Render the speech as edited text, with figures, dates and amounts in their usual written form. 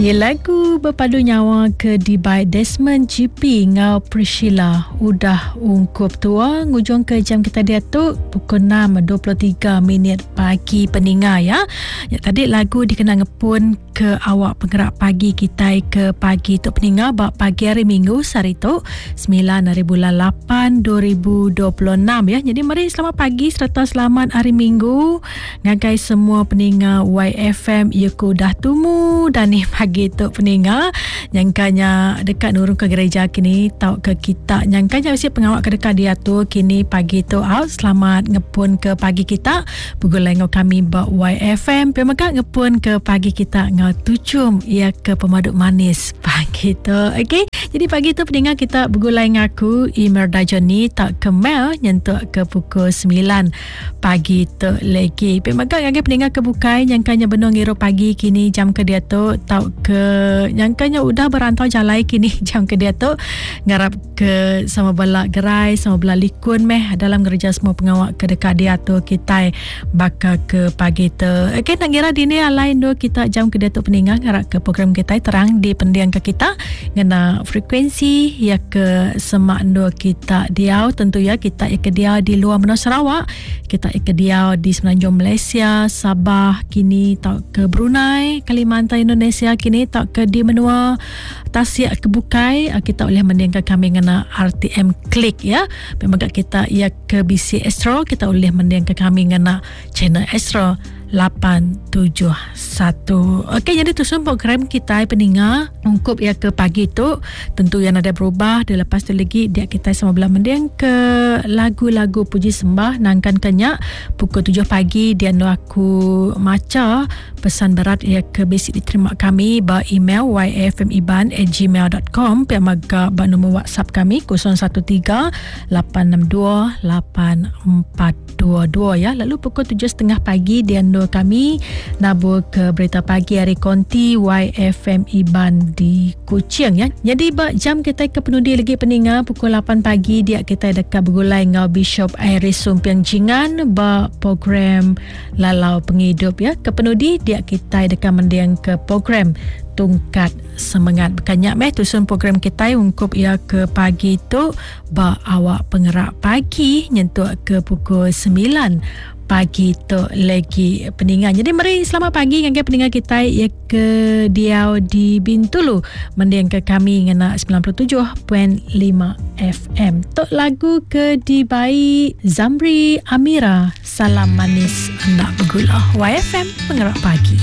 Iya lagu bepadu nyawa ke dibai Desmond GP enggau Priscilla udah ungkup tua ngujung ke jam kita diatu pukul 6.23 minit pagi peninga ya. Ya tadi lagu dikena ngepun ke awak pengerak pagi kitai ke pagi tu peninga ba pagi hari Minggu sehari tu 9 hari bulan 8 2026 ya. Jadi meri selamat pagi serta selamat hari Minggu Ngagai semua peninga YFM iya ku udah tumu dan ni pagi tu peninga nyangkanya deka nurun ke gereja kini tauka kita nyangkanya bisi pengawa ke deka diatur kini pagi tu au selamat ngepun ke pagi kita begulai enggau kami ba YFM pia mega ngepun ke pagi kita enggau tuchum iya ke pemadu manis pagi tu okey jadi pagi tu peninga kita begulai enggau aku Imerda Johnny tauka Mel nyentuk ke pukul 9 pagi tu legi. Pia mega ngagai peninga ke bukai nyangkanya benung ngirup pagi kini jam ke diatu tauka nyangkanya udah berantau jalai kini jam ke diatu ngarap ke sama bela gerai sama bela likun meh dalam ngereja semua pengawa ke deka diatur kitai baka ke pagi tu. Okey nak ngira dini alai endur kita jam ke diatu peninga ngarap ke program kitai terang dipendingka kita ngena frekuensi ya ke semak endur kita diau tentu ya kita ya ke diau di luar menua Sarawak kita ya ke diau di Semenanjung Malaysia Sabah kini tauka Brunei Kalimantan Indonesia kini tauka di menua tasik ke bukai ah, kita boleh mendingka kami ngena RTM Click ya memang kita ya ke bisi Astro kita boleh mendingka kami ngena channel Astro 871. Okey, jadi tusun program kita peninga ungkup ya ke pagi tu tentu yang ada berubah dia lepas tu lagi dia kita sama belah mending ke lagu-lagu puji sembah nangkan kenyak pukul 7 pagi dia nu aku maca pesan berat ya ke bisi diterima kami ba email yfmiban@gmail.com pia mega ba nombor WhatsApp kami 013 862 84 dua-dua ya. Lalu pukul 7.30 pagi di andur kami nabur ke berita pagi hari konti YFM Iban di Kuching ya. Jadi ba jam kita ke penudi lagi peninga pukul 8 pagi dia kita dekat bergulai ngau Bishop Iris Sumpiang Jingan ba program Lalau Pengidup ya. Ke penudi dia kita dekat mendiang ke program Tungkat Semengat. Bukannya meh tusun program kita ungkup ia ke pagi tu Ba awak pengerak pagi nyentuk ke pukul 9 pagi tu lagi peninga. Jadi meri selamat pagi ngagai peninga kita ya ke diau di Bintulu mending ke kami ngena 97.5 FM. Tok lagu ke dibai Zamri Amira Salam Manis Enda Begula. YFM Pengerak Pagi.